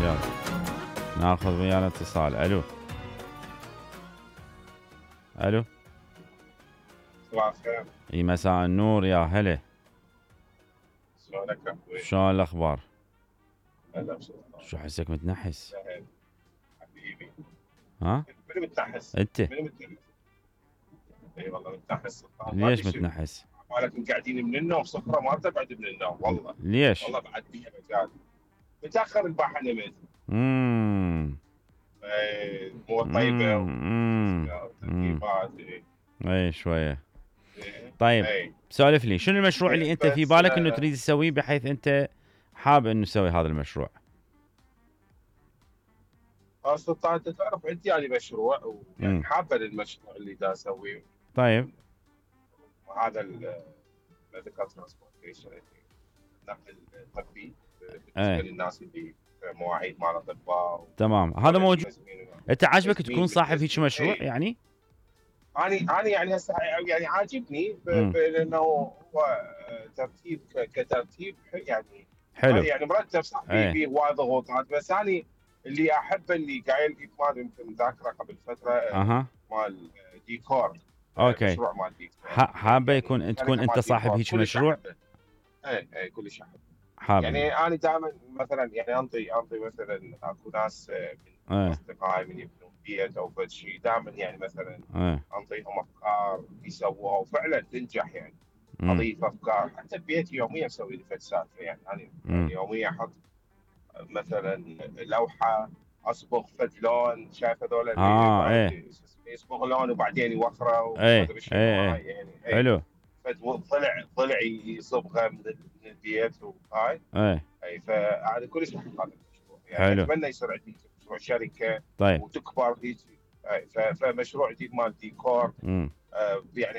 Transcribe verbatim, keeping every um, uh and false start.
يلا ناخذ ويانا اتصال. الو الو صباح الخير. اي مساء النور يا هلا. شلونك اخوي؟ شلون الاخبار؟ هلا بسلطان. شو حسك متنحس؟ حبيبي. ها؟ من متنحس؟ انت؟ من متنحس؟ اي والله متنحس سلطان. ليش متنحس؟ مالك قاعدين من النوم صفرة ما تقعد من النوم والله. ليش؟ والله بعد فيها مجال. متاخر البارحه نمت. اممم اي مو طيبه اممم اي شويه. إيه. طيب اي سولف لي شنو المشروع اللي انت في بس بالك انه آه، تريد تسويه بحيث انت حابب انه تسوي هذا المشروع؟ آه، سلطان انت تعرف عندي يعني مشروع مم. ويعني حابه للمشروع اللي دا اسويه. طيب وهذا الميديكال ترانسبورتيشن النقل الطبي بالنسبه ايه للناس اللي مواعيد مال اطباء. تمام هذا موجود. انت عاجبك تسمين تكون صاحب هيك بالتسمين. مشروع إيه. يعني؟ انا انا يعني هسه يعني عاجبني ب- مم. ب- لانه هو ترتيب ك- كترتيب يعني حلو. يعني مرتب صح في ايه في هواي ضغوطات بس انا اللي احبه اللي قايل لي مال يمكن ذاكره قبل فتره اها مال ديكور. اوكي. مشروع مال ديكور ح- حابه يعني يكون تكون شركه انت مال صاحب ديكور هيك كلش مشروع؟ احبه. اي اي كلش احبه. حابب يعني انا دائما مثلا يعني انطي انطي مثلا اكو ناس من ايه اصدقائي من يبنون بيت او فد شيء دائما يعني مثلا ايه انطيهم افكار يسووها وفعلا تنجح يعني. مم. اضيف افكار حتى ببيتي يوميا اسوي لي فد سالفه يعني انا مم. يعني يوميا احط مثلا لوحه اصبغ فد لون شايف هذول اللي اه واحد ايه يصبغ لون وبعدين يوخره وما ايه ادري شنو ايه هاي ايه يعني اي حلو. فد ضلع ضلع يصبغه من من البيت وهاي. ايه اي فهذا كلش احب هذا المشروع يعني حلو. اتمنى يصير عندي مشروع شركه طيب وتكبر هيك. أي، ف- فمشروع جديد مال ديكور مم. آه، يعني